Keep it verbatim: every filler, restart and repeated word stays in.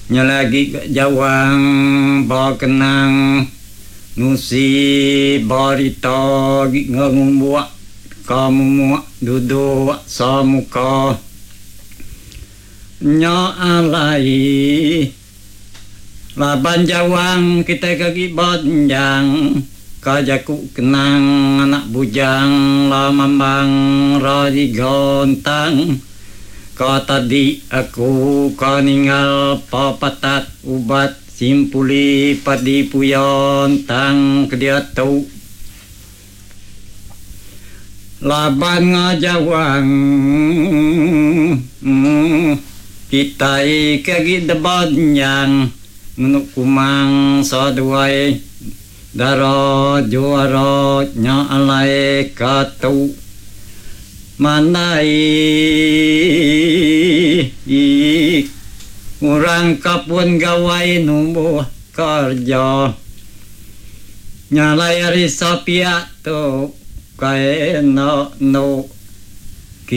Nya lagi ga jawang ba kenang nusi berita agi ngumbuk ka mumuk duduk samuka. Nya alai laban jawang kitai ke agi benjang ka jaku kenang anak bujang lamambang raji gontang. Ka tadi aku ka ninggal papatat ubat simpuli padi puyan tang kediatu. Laban ngajawang kitai ke agi deban nyang ngenu kumang saduai dara juara nya alai ka tu. Mandai orang ka pun gawai numbuh kerja. Nyalai ari sapiak tu kai enda endu